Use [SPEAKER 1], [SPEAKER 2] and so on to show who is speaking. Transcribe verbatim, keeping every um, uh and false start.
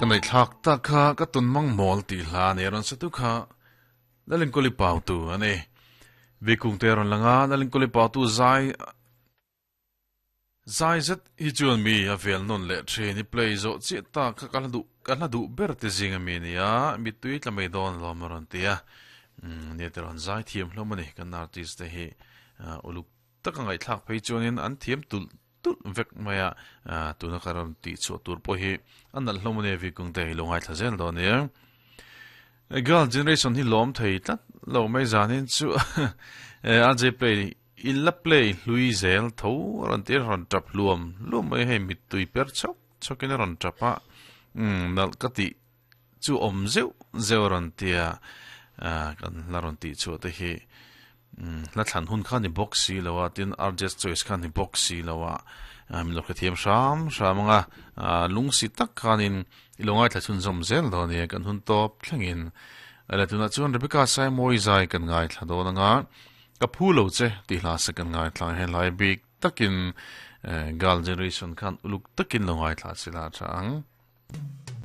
[SPEAKER 1] Ka nei thlak tak kha ka tun mang mawl ti hla ne ron sa tu kha lalin kuli pau tu ani vikung te ron langa lalin kuli pau tu zai zai zet hi chuan mi a vel non le thin i play zo chi ta kha ka du ka la du ber te zinga mi nia mi tui tla mai don lo maron tia ne te ron zai thiam hlo mani kan artist te hi uluk taka ngai thlak phei chuanin an thiam tul tul vek maya tuna karam ti chu tur po hi an nal hlo mani vi kung te lo ngai thlazel do ne girl generation hi lom thei tlat lo mai zanin chu a je play in la play hlui zel tho ron ti ron tap luam luam mai hei mit tui per chok chokin ron tapa um nal ka ti chu om zeu zeu ron tia kan la ron ti chu te hi la thlan hun kha ni box si lawa tin artist choice kha ni box si lawa mi lo thiam sham shamanga lung si tak khanin ilongai thla chun zom zel do ni kan hun top thlengin ala tuna chuan Rebecca sai moi zai kan ngai thla do nga ka phu lo che ti hla se kan ngai thla he lai big takin gal generation khan uluk takin longai thla sila chang.